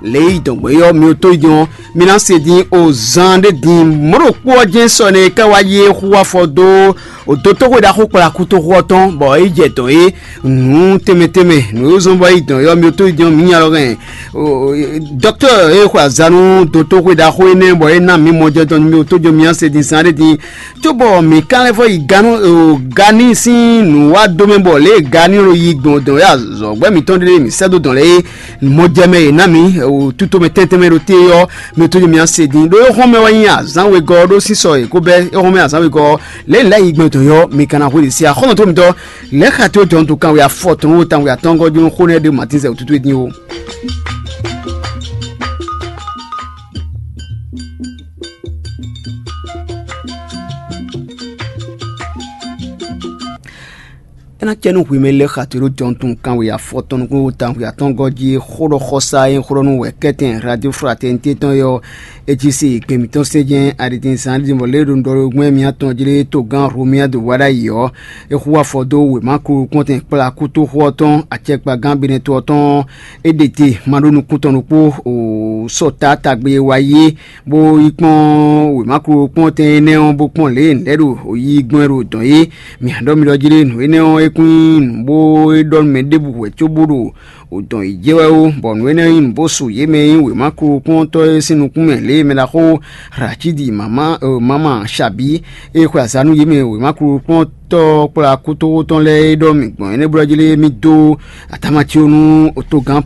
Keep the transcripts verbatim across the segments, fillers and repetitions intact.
Lě yi dɔ̌n gbé ɔ́, mi ò tó yi din ɔ́, mi ná se din o zan ɖé din. Mɔ̌ ɖo kpó ɔ́ jɛ́n sɔ nɛ ká wá yí é xú afɔ dó o dótóxwe ɖaxó kplakútoxu ɔ́ tɔn, bɔ é jɛ dɔ̌n é nǔ tɛnmɛ tɛnmɛ nǔ e zɔ́n bɔ é yi dɔ̌n é ɔ́, mi ò tó yi din ɔ́, mǐ nya lɔ hɛn. Dɔktɔ́ e xwe azǎn nú dótóxwe ɖaxó énɛ́ bɔ é ná mǐ mɔjɛtɔ́ nú mì ò tó jó mì ɔ́ se din zan ɖé din, cóbɔ mǐ ka lɛ́ vɔ yi ganu gani sín nǔ wá dó mɛ bɔ lě e gani ɖo yi gbɔn dɔn wɛ azɔ̌gbɛ́ mǐtɔn ɖé mǐ sɛ́ dó dɔn lɛ́ɛ é. Mɔjɛmɛ e ná mǐ tutomɛ tɛntɛnmɛ ɖo te ɔ́, mǐ tó mǐ se din ɖó é hɔn mɛ wɛ nyí azǎn wegɔ́ ɖó sísɔ e kó bɛ́ é hɔn mɛ azǎn wegɔ́ lě lɛ́ yi gbɔn dɔn yɔ mǐ ka ná hwe ɖě sí axɔ́nɔ tó mǐtɔn lɛ̌ xa tó jɔn tó kan wɛ afɔ tɔn wo tan wɛ atɔngɔ́ jó xó nɛ́ ɖé matín zɛ wútútú é dín ó. É ná cɛ nú hwemɛ lɛ́ xa te ɖó jɔntun kanwe afɔtɔn nukúnnú tawun xwe atɔ́ɔ́ngɔ́ jí xó ɖɔ xɔsá e xó ɖɔ nú wɛ kɛ́tɛn Radio Fraternité tɔn é ɔ́, é cí se gbɛn mǐtɔn sɛ́n jɛ́n aɖitin zán ɖi bɔ lě e ɖo ɖɔ ɖo gbɛ́n mǐtɔn jí lé togán Romuald Wadagni ɔ́, é xú afɔ dó wěma kpó kpɔ́ntɛn kplá kútóxó ɔ́ tɔn acɛkpagán Benɛto ɔ́ tɔn é ɖe te ma ɖó nukún tɔn ɖokpó o sɔ taátagbe e wa yí é, bó yi kpɔ́n wěma kúkú kpɔ́ntɛn énɛ́ ɔ́, bó kpɔ́n lě e nǔ lɛ́ɛ ɖo yi gbɔn é ɖo dɔ̌n é. Mǐ á ɖɔ mi ɖɔ jí ɖé nǔ énɛ́ ɔ́, é kún nyí nǔ bó é ɖɔ nú mɛ ɖěbǔ hwɛ̌ cóbó ɖo dɔ̌n yi jɛ wɛ ó, bɔ nǔ énɛ́ nyí nǔ bó su yě mɛ e nyí wěma kúkú kpɔ́ntɔ́ é sín nukún mɛ lě e mɛ ɖaxó Racídi mama mama Sabǐ e xwe azǎn nú yě mɛ wěma kúkú kpɔ́ntɔ́ kplá kútóxó tɔn lɛ́ɛ é ɖɔ mǐ gbɔn énɛ́ blɔ́ jí lé mì dó atamaci ɔ́ nú togán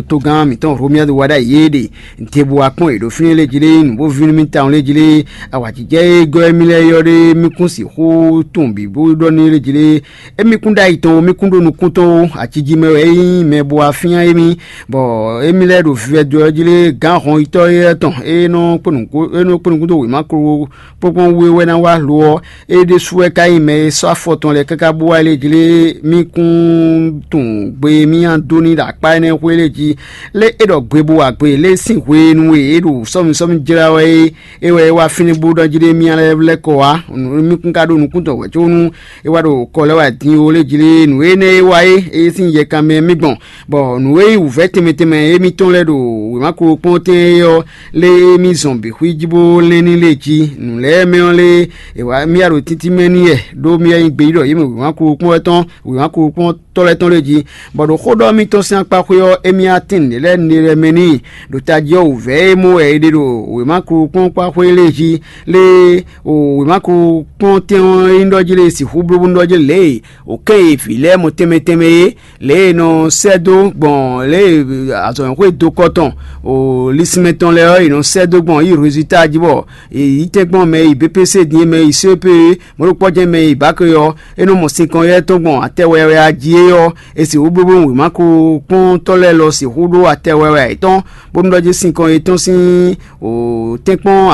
togán mǐtɔn Romuald Wadagni é ɖe. Ntebú wa kpɔ́n yě ɖo fínɛ́ lé jí lé, nǔ bó ví nú mì tawun lé jí lé, awǎjijɛ e gɔ́ émí lɛ́ɛ ylɔ́ ɖé mì kún sixú tunwun bǐ bó ɖɔ n'i lé jí lé. Émí kún ɖó ayi tɔn ó, mì kún ɖó nukún tɔn ó, aci jí mɛ wɛ é nyí mɛ bó wá fyán émí, bɔ émí lɛ́ɛ ɖo vivɛdo ɔ́ jí lé, gǎn hɔnyitɔ́ éyɛ́ tɔn e nɔ kpó nǔkún dó wěma kpókpɔ́n wú é wɛ ná wá lo ɔ́, é ɖésú wɛ ka nyí mɛ e sɔ́ afɔ tɔn lɛ́ɛ káká bó wá lé jí lé, mì kún tunwun gbe e mì nyi dó n'i ɖo akpá énɛ́ xwé lé jí. Lé é ɖɔ gbe bó wa gbe lé sín hwenu e é ɖo sɔ́mi sɔ́mi jlá wɛ é, é wɛ é wá fínɛ́ bó ɖɔ jí ɖé mì lɛ́ lɛ́ kɔ wá. Mì kún ka ɖó nukún tɔn wɛ có nú é wá ɖo kɔ lɛ́ wá din ó lé jí lé nǔ énɛ́ e wá é é sín yɛ kanmɛ mì gbɔn, bɔ nǔ e nyí wǔvɛ́ tɛnmɛ tɛnmɛ émítɔn lɛ́ɛ ɖo wěma kpókpɔ́n tɛn é ɔ́, lé mì zɔn bǐ xwí jí bó lɛ́n ní lé jí. Nǔ lɛ́ɛ mɛ ɔ́ lé è wá mì wá ɖo títí mɛ n'i wɛ, ɖó mì wɛ nyí gbeyíɖɔ yě mɛ wěma kpókpɔ́n wɛ tɔn, wěma kpókpɔ́n tɔ́ lɛ́ɛ tɔn lé jí, bɔ ɖo xó ɖɔ mitɔn sín akpa xwé ɔ́, émí atɛ́n nǔɖé lɛ́ɛ nǔɖé lɛ́ɛ mɛ n'i. Ɖo tají ɔ́ wǔvɛ́ e mɔ wɛ è ɖe ɖo wěma kpókpɔ́n kpá xwé lé jí, lé o wěma kpókpɔ́n tɛn ɔ́ é nyí ɖɔ jí lé sixú bló bónú ɖɔ jí lě e wǒ kɛn e vǐ lɛ́ɛ mɔ tɛnmɛ tɛnmɛ é, lě e è nɔ sɛ́ dó gbɔn lě e azɔ̌mɛxwé dó kɔ tɔn o lisínmɛ tɔn lɛ́ɛ ɔ́, è nɔ sɛ́ dó gbɔn yi résultat jí bɔ è yí tɛ́nkpɔ́n mɛ e yi B P C din é, mɛ e yi C E P é, mɔ̌ ɖokpɔ́ jɛ́n mɛ e yi bǎke ɔ́, é nɔ mɔ sinkɔn yɛ́ tɔn gbɔn atɛ wɛwɛ jí é ɔ́, è sixú blóbló wěma kpókpɔ́ntɔ́ lɛ́ɛ lɔ sixú ɖó atɛ wɛwɛ yětɔn, bónú ɖɔ jí sinkɔn yětɔn sín tɛ́nkpɔ́n